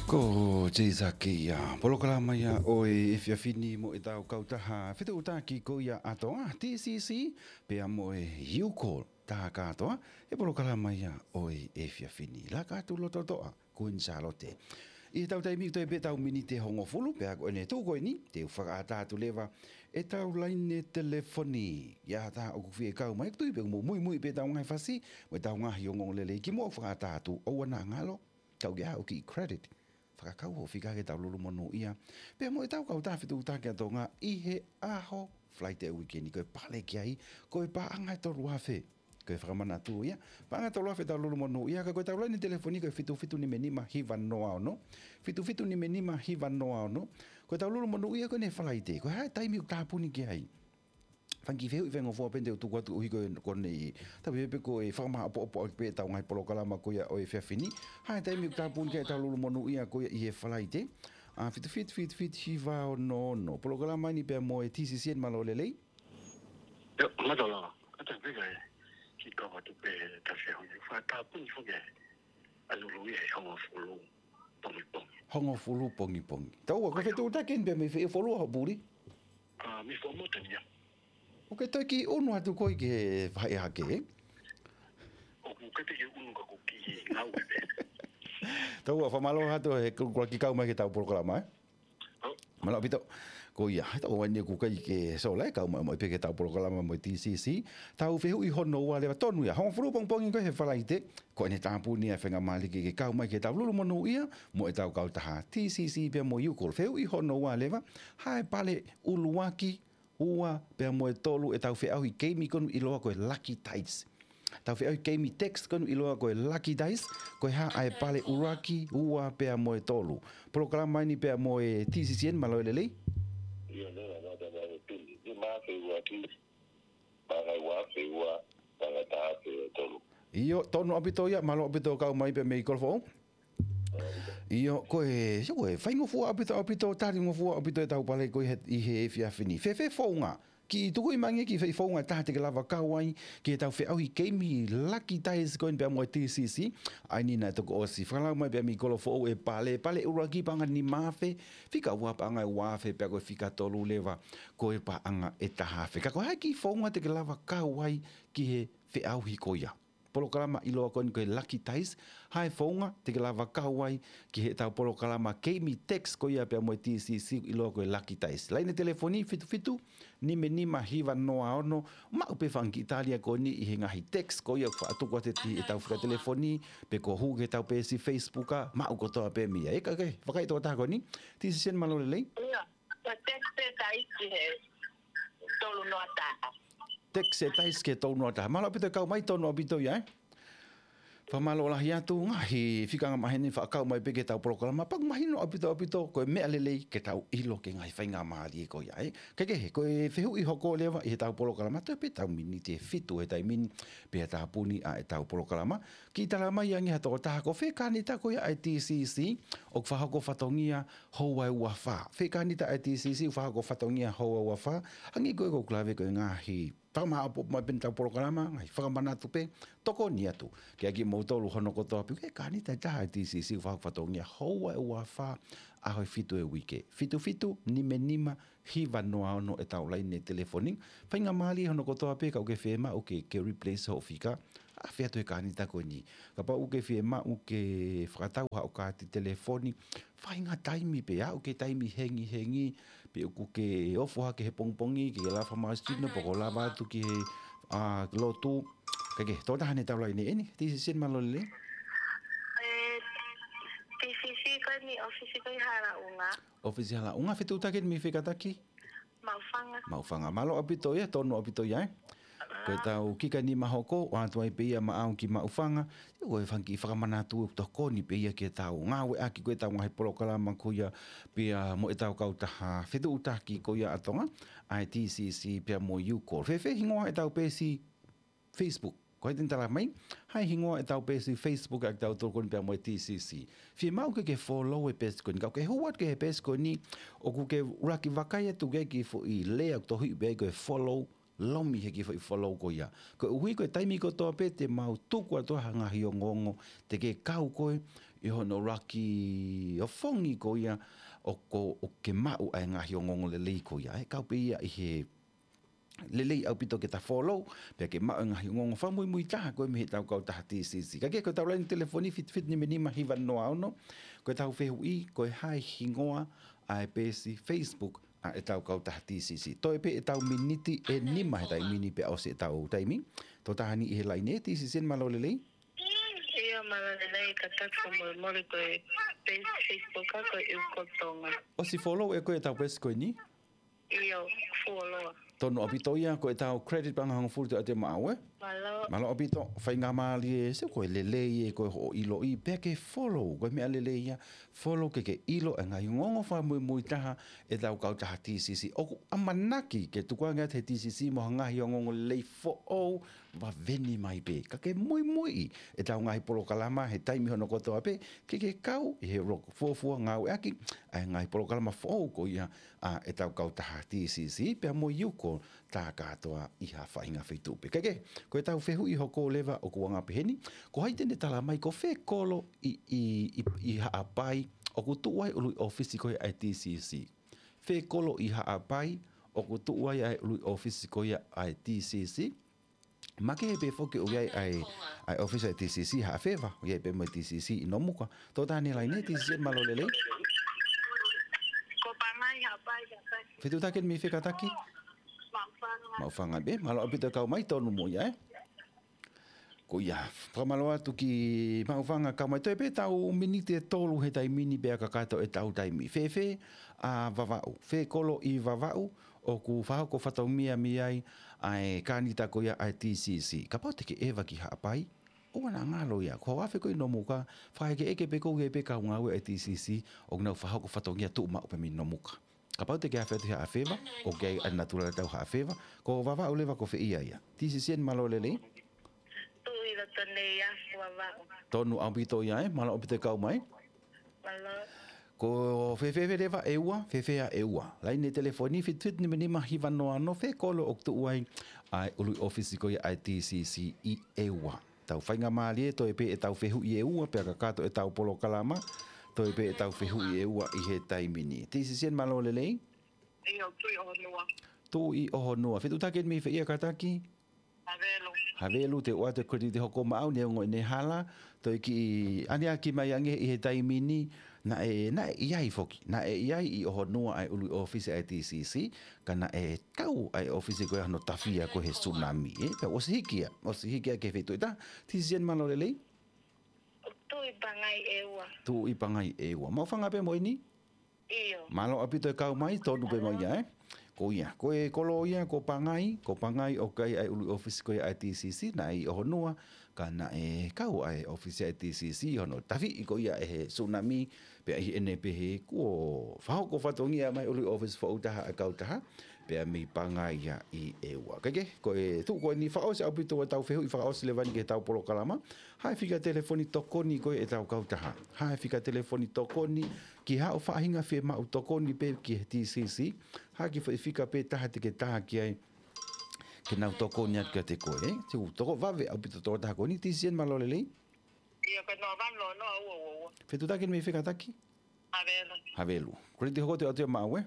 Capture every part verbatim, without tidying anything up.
Ko Jay Zaki ia, polokalama ia ʻo e efiafi ni mo ʻetau kautaha fetuʻutaki ko ia ʻa Tonga, T C C, pea mo e U-Call, tā kātoa, he polokalama ia ʻo e efiafi ni. Laka atu loto toʻa, Queen Sālote. ʻI heʻetau taimi ʻoku toe pē ʻetau miniti ʻe hongofulu, pea ko ʻene tuʻu ko eni, te u fakaʻatā atu leva ʻetau laine telefoni. ʻI he taha ʻoku fie kau mai, tui pē ʻoku mou muimui pē ʻetau ngaahi fasi, mo ʻetau ngaahi ongoongolelei kimuʻa ʻoku fakaʻatā atu, ʻoua naʻa ngalo, tau ke ʻai haʻo kiʻi credit. Fakakau hoʻo fika ke tau lulu monūʻia. Pea mo ʻetau kautaha fetuʻutaki ʻa Tonga ʻi he ʻaho Falaite uike ni, ko e pale ki ai, ko e paʻanga ʻe tolu afe. Ko e fakamanatu ia, paʻanga ʻe tolu afe ʻetau lulu monūʻia, ka ko ʻetau laine telefoni ko e fitu fitu nima nima hiva noa ono. Fitu fitu nima nima hiva noa ono. Ko ʻetau lulu monūʻia ko eni Falaite. Ko e hā e taimi ʻoku tāpuni ki ai? Fanga kiʻi fehuʻi faingofua pē te u tuku atu ʻuhi ko e, ko eni. Tau pehē pē ko e fakamāʻopoʻopo ʻaki pē ʻetau ngaahi polokalama ko ia ʻo e efiafi ni. Hā e taimi ʻoku tāpuni ki ai ʻetau lulu monūʻia ko ia ʻi he Falaite? ʻA, fitu fitu fitu fitu hiva ono ono. Polokalama ni pea mo e T C C eni, mālō e lelei. ʻIo, mālō. Kātaki pē kae kiʻi kau atu pē, tau se honi. Fakatāpuni foki ʻa e lulu ia he hongofulu pongipongi. Hongofulu pongipongi. Tau ua, ko e fetuʻutaki eni pē mei fē, ʻe folu ʻa hoʻo puli? ʻA, mei Fuaʻamotu ia. ʻOku ke toe kiʻi ʻunu atu koe ki he faʻahi hake, ē? ʻOku ʻikai te u kiʻi ʻunu ka ʻoku ou kiʻi ngāue pē. Tau ua, fakamālō atu he kuakikau mai ki heʻetau polokalama, ē? ʻO. Mālō ʻaupito. Ko ia, he tau ua ni ʻoku ʻikai ke sola ē, kau mai, mai pē ki heʻetau polokalama mo e T C C. Tau fehuʻi hono ua leva, tonu ia, hongofulu pongipongi ko ē he Falaite, ko ʻene tāpuni ʻa e faingamālie ke ke kau mai ke tau lulu monūʻia mo ʻetau kautaha T C C pea mo e U-Call. Fehuʻi hono ua leva, hā e pale ʻuluaki, ua pea mo e tolu ʻetau feʻauhi keimi ko eni ʻiloa ko e Lucky Dice. Tau feʻauhi keimi text ko eni ʻiloa ko e Lucky Dice, ko e hā ʻa e pale ʻuluaki, ua pea mo e tolu. Polokalama eni pea mo e T C C eni, mālō e lelei. ʻIo, nō, nō, nō, nō, tuli. Nima afe ua ki, paʻanga ua afe ua, paʻanga taha afe tolu. ʻIo, tonu ʻaupito ia, mālō ʻaupito kau mai pē mei Kolofoʻou. ʻIo, ko e, ʻio, ko e faingofua ʻaupito, ʻaupito, talingofua ʻaupito ʻetau pale ko ē he, ʻi he efiafi ni. Fēfē founga? Kiʻi tuku mai ange kiʻi founga ʻe taha te ke lava kau ai ki heʻetau feʻauhi keimi Lucky Dice ko eni pea mo e T C C. ʻA eni naʻe toki ʻosi fakalau mai pē mei Kolofoʻou e pale, pale ʻuluaki paʻanga nima afe, fika ua paʻanga ua afe, pea ko e fika tolu leva ko e paʻanga ʻe taha afe. Ka ko e hā e kiʻi founga te ke lava kau ai ki he feʻauhi ko ia? Polokalama ʻiloa ko eni ko e Lucky Dice, hā e founga te ke lava kau ai ki heʻetau polokalama keimi text ko ia pea mo e T C C ʻiloa ko e Lucky Dice. Laine telefoni fitu fitu nima nima hiva noa ono, maʻu pē fanga kiʻi tali ko eni ʻi he ngaahi text ko ia ʻoku faʻa tuku atu ʻi heʻetau fika telefoni, pe ko e hū ki heʻetau peesi Facebook, maʻu kotoa pē mei ai. Ē, ka, ka, fakaʻi tokotaha ko eni, T C C eni, mālō e lelei. ʻIo, ko e text ʻe taha ki he tolu noa taha. Text ʻe taha ki he tolu noa taha. Mālō ʻaupito e kau mai, tonu ʻaupito ia, ē. Fakamālō lahi atu, ngaahi fika angamaheni fakakau mai pē ki heʻetau polokalama, pea ʻoku mahino ʻaupito, ʻaupito, ko e meʻa lelei ke tau ʻilo ki he ngaahi faingamālie ko ia, ē. Kaikehe, ko e fehuʻi hoko leva ʻi heʻetau polokalama, toe pē ʻetau miniti ʻe fitu he taimi ni, pea tāpuni ʻa ʻetau polokalama. Kiʻi tala mai ange ha tokotaha, ko fē kānita ko ia ʻa e T C C ʻoku fakahoko fatongia houa ʻe ua fā. Fē kānita ʻa e T C C ʻoku fakahoko fatongia houa ʻe ua fā. Hangē ko ē ʻoku ou lave ko e ngaahi fakamāʻopoʻopo mai pē ʻetau polokalama, ngaahi fakamanatu pē, tokoni atu kiate kimoutolu hono kotoa pē, ko e kānita ʻe taha ʻa e T C C ʻoku fakahoko fatongia houa ʻe ua fā, ʻaho ʻe fitu he uike. Fitu fitu nima nima hiva noa ono ʻetau laine telefoni. Faingamālie hono kotoa pē, kapau ʻoku ke fiemaʻu ke, ke replace hoʻo fika, ʻave atu he kānita ko eni. Kapau ʻoku ke fiemaʻu ke fakatau haʻo kaati telefoni, faʻahinga taimi pē, aʻu ki he taimi hengihengi, pe ʻoku ke ofo hake he pongipongi, ke lava mai sino, pe ko e lava atu ki he, ʻa, lotu. Kaikehe, tokotaha ʻi heʻetau laine eni, T C C eni, mālō e lelei. ʻE, T C C ko eni, ʻōfisi ko ē ʻi Halaʻunga. ʻŌfisi Halaʻunga, fetuʻutaki eni mei fē kātaki? Maʻufanga. Maʻufanga. Mālō ʻaupito ia, tonu ʻaupito ia, ē. Ko ʻetau kika nima hoko, ʻoatu ai pē ia maʻau ki Maʻufanga. Ko e fanga kiʻi fakamanatu ʻoku tokoni pē ia ki heʻetau ngāueʻaki ko ē ʻetau ngaahi polokalama ko ia pea mo ʻetau kautaha fetuʻutaki ko ia ʻa Tonga, ʻa e T C C pea mo e U-Call. Fēfē hingoa ʻetau peesi Facebook? Ko hai te ne tala mai, hā e hingoa ʻetau peesi Facebook ʻa kitautolu ko eni pea mo e T C C. Fiemaʻu ke ke follow e peesi ko eni. Kapau ʻoku ke hū atu ki he peesi ko eni, ʻoku ke ʻuluaki vakai atu ki he kiʻi foʻi lea ʻoku tohiʻi pē ai ko e follow, lomi he kiʻi foʻi follow ko ia. Koeʻuhi ko e taimi kotoa pē te mau tuku atu ha ngaahi ongoongo, te ke kau koe ʻi hono ʻuluaki ofongi ko ia ʻoku, ʻoku ke maʻu ʻa e ngaahi ongoongo lelei ko ia, ʻe kau pē ia ʻi he lelei ʻaupito ke ta follow, pea ke maʻu e ngaahi ongoongo fakamuimui taha ko ē mei heʻetau kautaha T C C. Kae kehe, ko ʻetau laine telefoni fitu fitu nima nima hiva noa ono, ko ʻetau fehuʻi, ko e hā e hingoa ʻa e peesi Facebook ʻa ʻetau kautaha T C C. Toe pē ʻetau miniti ʻe nima he taimi ni pea ʻosi ʻetau taimi. Tō taha ni ʻi he laine, T C C, mālō e lelei. ʻIo, mālō e lelei, kātaki fakamolemole, ko e peesi Facebook ʻaʻaku ko e ʻIuko Tonga. ʻOsi follow ʻe koe ʻetau peesi ko eni? ʻIo, follow. Tonu ʻaupito ia, ko ʻetau credit paʻanga hongofulu te ate maʻau, ē? Mālō. Mālō ʻaupito, faingamālie, sai, ko e lelei ē, ko hoʻo ʻiloʻi, pea ke follow, ko e meʻa lelei ia, follow ke ke ʻilo e ngaahi ongoongo fakamuimui taha ʻetau kautaha T C C. ʻOku ʻamanaki ke tukuange atu he T C C mo ha ngaahi ongoongo lelei foʻou, vaveni mai pē. Ka ke muimuiʻi ʻetau ngaahi polokalama he taimi hono kotoa pē, ke ke kau ʻi he loko fuofua ngāueʻaki ʻa e ngaahi polokalama foʻou ko ia ʻa ʻetau kautaha T C C, pea mo e ʻIuko tā kātoa ʻi ha faʻahinga feituʻu pē. Kae kehe, ko ʻetau fehuʻi hoko leva ʻoku anga peheni, ko hai te ne tala mai ko fē kolo ʻi, ʻi, ʻi, ʻi Haʻapai ʻoku tuʻu ai ʻulu ʻōfisi ko ia ʻa e T C C? Fē kolo ʻi Haʻapai ʻoku tuʻu ai ʻa e ʻulu ʻōfisi ko ia ʻa e T C C? Makehe pē foki ʻoku ʻi ai ʻa e, ʻa e ʻōfisi ʻa e T C C Haʻafeva, ʻoku ʻi ai pē mo e T C C ʻi Nomuka. Tō taha ni he laine, T C C, mālō e lelei. Ko Pangai Haʻapai, Haʻapai. Fetuʻutaki eni mei fē kātaki? Maʻufanga. Maʻufanga pē, mālō ʻaupito e kau mai, tonu mo ia, ē? Ko ia, fakamālō atu ki Maʻufanga, kau mai. Toe pē ʻetau miniti ʻe tolu he taimi ni pea kakato ʻetau taimi. Fēfē ʻa Vavaʻu, fē kolo ʻi Vavaʻu ʻoku fakahoko fatongia mei ai ʻa e kānita ko ia ʻa e T C C? Kapau te ke ʻeva ki Haʻapai, ʻoua naʻa ngalo ia. Ko hoʻo afe ko ē ʻi Nomuka, fakaʻekeʻeke pē ʻoku ʻi ai pē kau ngāue ʻa e T C C ʻoku nau fakahoko fatongia tuʻu maʻu pē mei Nomuka. Kapau te ke afe atu Haʻafeva, ʻoku ʻi ai ʻa e natula ʻetau Haʻafeva, ko Vavaʻu leva ko fē ia ia? T C C, mālō e lelei. Tuʻu ʻi loto nei ʻa Vavaʻu. Tonu ʻaupito ia, ē, mālō ʻaupito e kau mai. Mālō. Ko fēfē leva ʻEua, fēfē ʻa ʻEua? Laine telefoni fitu fitu nima nima hiva noa ono, fē kolo ʻoku tuʻu ai ʻa e ʻulu ʻōfisi ko ia ʻa e T C C ʻi ʻEua? Tau faingamālie, toe pē ʻetau fehuʻi ʻe ua pea kakato ʻetau polokalama. Toe pē ʻetau fehuʻi ʻe ua ʻi he taimi ni. T C C, mālō e lelei. ʻIo, Tuʻi ʻOhonua. Tuʻi ʻOhonua. Fetuʻutaki eni mei fē ia kātaki? Havelu. Havelu, te u ʻoatu e credit hoko maʻau, neongo ʻene hala, toe kiʻi ʻaneaki mai ange ʻi he taimi ni, naʻe, naʻe ʻi ai foki, naʻe ʻi ai ʻi ʻOhonua ʻa e ʻulu ʻōfisi ʻa e T C C, ka naʻe kau ʻa e ʻōfisi ko ia hono tafi ia ko ē he tsunami, ē? Pea ʻosi hiki ia, ʻosi hiki ia ki he feituʻu ʻe taha. T C C, mālō e lelei. Tuʻi Pangai ʻEua. Tuʻi Pangai ʻEua. Maʻufanga pē mo eni? ʻIo. Mālō ʻaupito e kau mai, tonu pē mo ia, ē? Ko ia, ko e kolo ia ko Pangai, ko Pangai ʻoku ʻi ai ʻa e ʻulu ʻōfisi ko ia ʻa e T C C, naʻe ʻi ʻOhonua, ka naʻe kau ʻa e ʻōfisi ʻa e T C C hono tafiʻi ko ia ʻe he tsunami, pea ʻi heʻene pehē kuo fakahoko fatongia mai ʻulu ʻōfisi foʻou taha ʻa e kautaha, pea mei Pangai ia ʻi ʻEua. Kae kehe, ko e tuʻu ko eni, fakaʻosi ʻaupito ʻetau fehuʻi, fakaʻosi leva eni ki heʻetau polokalama. Hā e fika telefoni tokoni ko ē ʻetau kautaha? Hā e fika telefoni tokoni ki haʻo faʻahinga fiemaʻu tokoni pē ki he T C C? Hā e kiʻi foʻi fika pē taha te ke tā ki ai ke nau tokoni atu kiate koe, ē? Te u toko vave ʻaupito tō taha ko eni. T C C, mālō e lelei. ʻIo, ko e noa valu noa ua ua ua. Fetuʻutaki eni mei fē kātaki? Havelu. Havelu. Credit hoko te u ʻoatu ia maʻau, ē?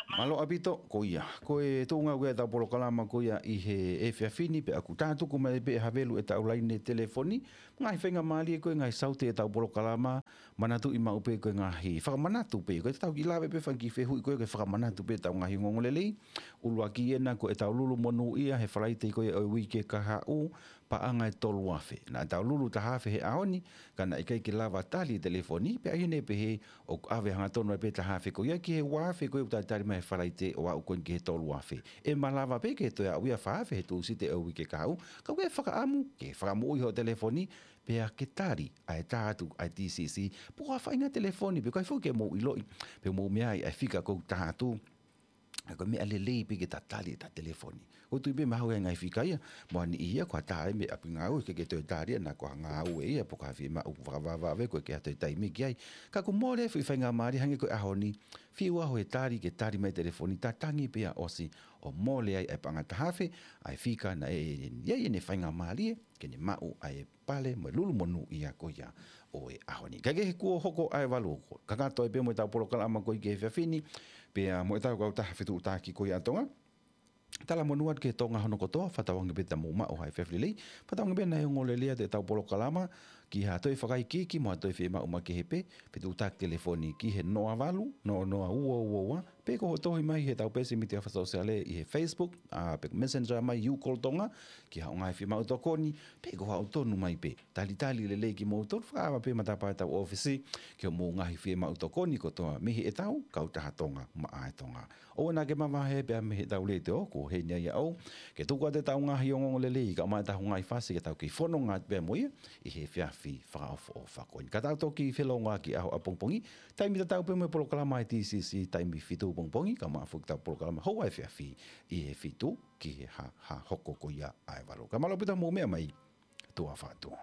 Mālō ʻaupito, ko ia. Ko e tuʻunga ko ia ʻetau polokalama ko ia ʻi he efiafi ni, pea ʻoku tā tuku mai pē ʻe Havelu ʻetau laine telefoni. Ngaahi faingamālie ko ē, ngaahi saute ʻetau polokalama, manatuʻi maʻu pē ko e ngaahi fakamanatu pē, ko ʻetau kiʻi lave pē fanga kiʻi fehuʻi ko ē ke fakamanatu pē ʻetau ngaahi ongoongo lelei. ʻUluaki ena ko ʻetau Lulu Monūʻia he Falaite ko ia ʻo e uike kahaʻu, paʻanga ʻe tolu afe. Naʻa tau lulu taha afe he ʻaho ni, ka naʻe ʻikai ke lava tali e telefoni, pea ʻi heʻene pehē ʻoku ʻave hangatonu ai pē taha afe ko ia ki he ua afe ko ia ʻoku talitali mai he Falaite ʻo aʻu ko eni ki he tolu afe. ʻE malava pē ke toe aʻu ia fā afe he Tūsite ʻo e uike kahaʻu, ka ʻoku ke fakaʻamu ke fakamoʻui hoʻo telefoni, pea ke tali ʻa e tā atu ʻa e T C C, pe ko ha faʻahinga telefoni, pe ko hai foki ke mou ʻiloʻi, pe mou meaʻi ʻa e fika ʻoku tā atu. ʻA ia ko e meʻa lelei pē ke ta tali ʻeta telefoni. ʻOku ou tui pē mahalo ʻe ʻi ai e ngaahi fika ia, mo ha niʻihi ia ko ha tā ia mei ʻapi ngāue, ʻikai ke toe tali ia, naʻa ko ha ngāue ia, pe ko ha fiemaʻu vakavavevave, ʻoku ʻikai ke ʻi ai ha toe taimi ki ai. Ka ʻoku mole e foʻi faingamālie hangē ko e ʻaho ni, fiu ʻaho he tali, ke tali mai e telefoni, ta tangi pē ia ʻosi, ʻo mole ai ʻa e paʻanga taha afe, ʻa e fika naʻe ʻi ai ʻene faingamālie ke ne maʻu ʻa e pale mo e Lulu Monūʻia ko ia ʻo ʻo e ʻaho ni. Kae kehe, kuo hoko ʻa e valu, kakato ai pē mo ʻetau polokalama ko ia ki he efiafi ni, pea mo ʻetau kautaha fetuʻutaki ko ia ʻa Tonga. Talamonū atu ki he Tonga hono kotoa, fakatauange pē te mou maʻu ha efiafi lelei, fakatauange pē naʻe ongo lelei atu ʻetau polokalama, ki ha toe fakaikiiki mo ha toe fiemaʻu makehe pē, fetuʻutaki telefoni ki he noa valu, noa noa ua ua ua, pe ko hoʻo tohi mai heʻetau peesi mītia fakasōsiale ʻi he Facebook, ʻa, pe Messenger mai, YouCall Tonga, ki haʻo ngaahi fiemaʻu tokoni, pe ko haʻo tonu mai pē. Talitali lelei kimoutolu, fakaava pē matapā ʻetau ʻōfisi, ki hoʻomou ngaahi fiemaʻu tokoni kotoa mei heʻetau kautaha Tonga maʻa e Tonga. ʻOua naʻa ke mavahe pē mei heʻetau letiō, ko eni ai ʻa au, ke tuku atu ʻetau ngaahi ongoongo lelei, kae ʻumaʻā ʻetau ngaahi fasi ke tau kei fononga atu pē mo ia, ʻi he efiafi fakaʻofoʻofa ko eni. Ka tau toki felōngoaki ʻaho ʻapongipongi, taimi tatau pē mo e polokalama ʻa e T C C, taimi fitu pongipongi, kae ʻumaʻā foki ʻetau polokalama houa efiafi, ʻi he fitu ki he hā, hā hoko ko ia ʻa e valu. Kae mālō ʻaupito hoʻomou meʻa mai, tuʻa ʻofa atu.